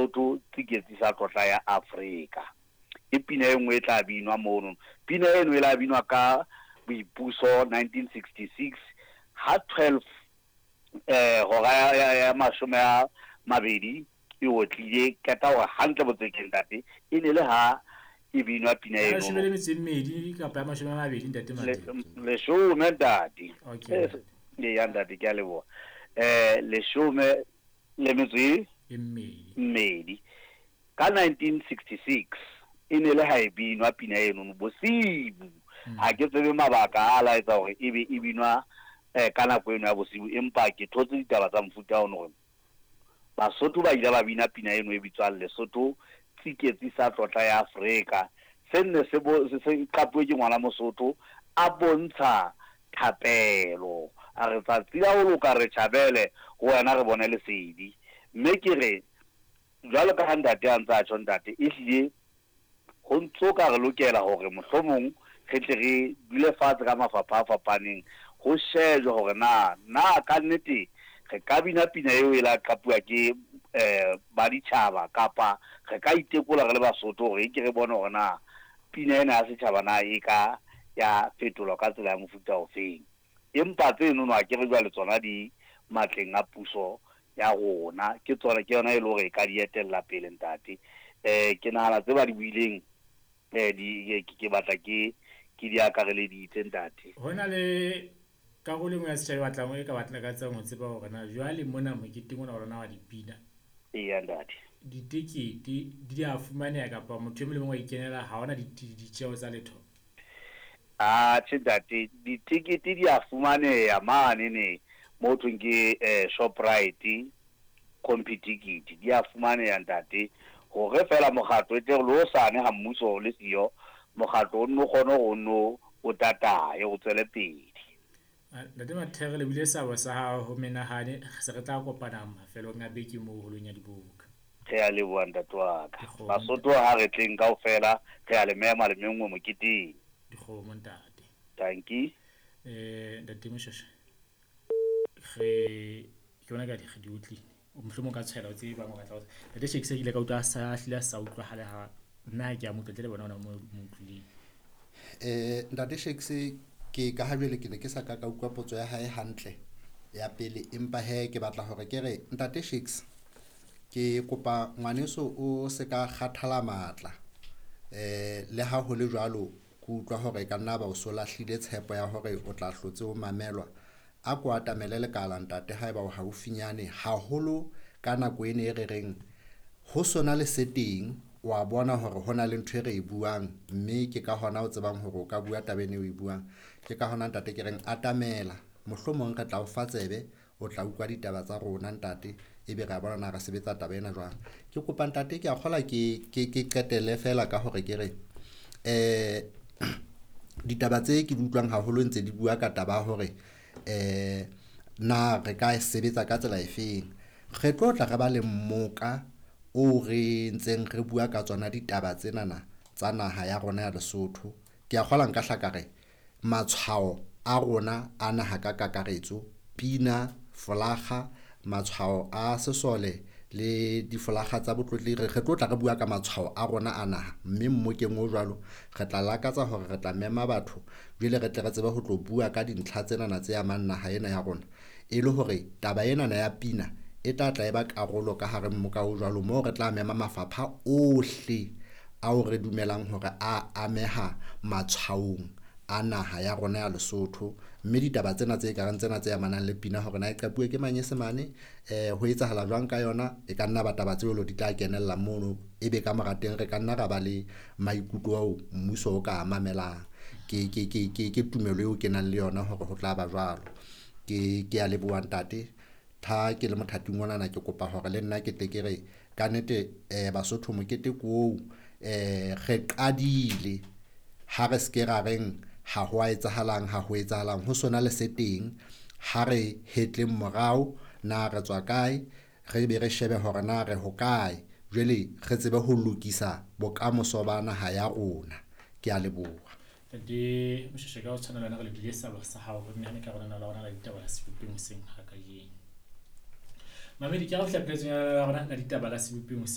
Lesotho Tsiketsi sa Tlotla ya Afrika. Ke pina e nngwe e tla binwa mono. Pina eno e la binwa ka boipuso 1966 ha 12 hora ya 20 e otlile, qeta hore hantle botsekeng ntate, e ne le ha e binwa pina eno. 12 kapa ya 20 ntate Matete. 10 ntate. Okay. Ya ntate, ke a leboha. 12. Ka 1966 e ne le ha e binwa pina eno bosibu. Ha ke tsebe mabaka a laetsa hore e be e binwa ka nako eno ya bosibu, empa ke thotse ditaba tsa mofuta ono hore Basotho ba ile ba bina pina eno e bitswang Lesotho Tsiketsi sa Tlotla ya Afrika. Se nne se se qapuwe ke ngwana Mosotho a bontsha thapelo, a re tsatsi la ho loka re tjhabele ho wena re bone lesedi. Mme ke re jwalo ka ha ntate a ntse a tjho ntate, ehlile ho ntso ka re lokela hore mohlomong re tle re dule fatshe ka mafapha a fapaneng, ho shejwe hore na na ka nnete re ka bina pina eo e la qapuwa ke ba ditjhaba, kapa re ka itekola re le Basotho hore e ke re bone hore na pina ena ya setjhaba na e ka ya fetolwa ka tsela ya mofuta ofeng. Empa tseno no akere jwale tsona di matleng a puso ya rona, ke tsona ke yona e le hore e ka di etella pele ntate. Ke nahana tse ba di buileng di ke batla ke di akareleditse ntate. Ho na le karolo e nngwe ya setjhaba e batlang e ka batla ka tsang ho tseba hore na jwale mona moketeng ona wa lona wa dipina. Eya ntate. Ditekete di a fumaneha kapa motho e mong le mong wa ikenela, ha hona ditjeho tsa letho? Atjhe ntate, ditekete di a fumaneha mane ne mo thweng ke Shoprite Computicket, di a fumaneha ntate. Hore feela mokgatlo e tle re le hosane ha mmuso o le siyo, mokgatlo o nno kgone hore o nno o tataye o tswele pele. Ntate Mathere, le buile seabo sa hao ho menahane, se re tla kopana mafelong a beke moo holong ya diboka. Re a leboha ntate wa ka. Basotho ha re tleng kaofela, re a le mema le menngwe moketeng. Dikgomo ntate. Dankie. Ntate Moshweshwe, re ke bona ka di di utlwile. Mohlomong ka tshwela o tsebe bang o batla ho. Ntate Shakes ke ile ka utlwa a sa hlile a sa utlwahale ha nna ke a mo utlwa ntle le bona ona mo utlwileng. Ntate Shakes, ke ka ha jwale ke ne ke sa ka ka utlwa potso ya hae hantle ya pele, empa he ke batla hore ke re ntate Shakes, ke kopa ngwaneso o se ka kgathala matla. Le ha ho le jwalo, ke utlwa hore ka nna ba o so lahlile tshepo ya hore o tla hlotse o mamelwa. A ko atamele lekala ntate haeba o haufinyane, haholo ka nako ena e re reng ho sona le se teng, wa bona hore ho na le ntho e re e buang, mme ke ka hona o tsebang hore o ka bua taba ena eo e buang. Ke ka hona ntate ke reng atamela, mohlomong re tla o fa tsebe, o tla utlwa ditaba tsa rona ntate, ebe re a bona na re sebetsa taba ena jwang. Ke kopa ntate, ke a kgola ke qetelle feela ka hore ke re ditaba tse ke di utlwang haholo ntse di bua ka taba ya hore na re ka sebetsa ka tsela efeng. Re tlo tla re ba le mmoka o re ntseng re bua ka tsona ditaba tsenana tsa naha ya rona ya Lesotho. Ke a kgola nka hla ka re matshwao a rona a naha ka kakaretso, pina, folakga, matshwao a sesole le difolakga tsa botlotlehi, re tlo tla re bua ka matshwao a rona a naha. Mme mmokeng o jwalo re tla lakatsa hore re tla mema batho jwale re tle re tsebe ho tlo bua ka dintlha tsenana tse amang naha ena ya rona, e le hore taba enana ya pina e tla tla e ba karolo ka hare mmoka o jwalo, moo re tla mema mafapha ohle ao re dumelang hore a ameha matshwaong a naha ya rona ya Lesotho. Mme ditaba tsena tse kareng tsena tse amanang le pina hore na e qapuwe ke manyesemane, ho etsahala jwang ka yona, e ka nna ba taba tseo di tla kenella mono, ebe ka mora teng re ka nna ra ba le maikutlo ao mmuso o ka mamelang. Ke tumelo eo ke nang le yona hore ho tla ba jwalo. Ke a leboha ntate. Tha ke le mothating onana, ke kopa hore le nna ke tle ke re ka nnete Basotho mokete ko oo, re qadile, ha re se ke ra reng ha ho a etsahalang, ha ho etsahalang, ho sona le se teng. Ha re hetleng morao na re tswa kae, re be re shebe hore na re hokae, jwale re tsebe ho lokisa bokamoso ba naha ya rona. Ke a leboha. Ntate Moshweshwe, ka ho tshwana le wena re lebile seabo sa hao ho nehane ka rona la rona la ditaba la sebopeng hoseng ha kajeno. Mamedi, ke a ho fihla pheletsong ya rona la ditaba la sebopeng hoseng.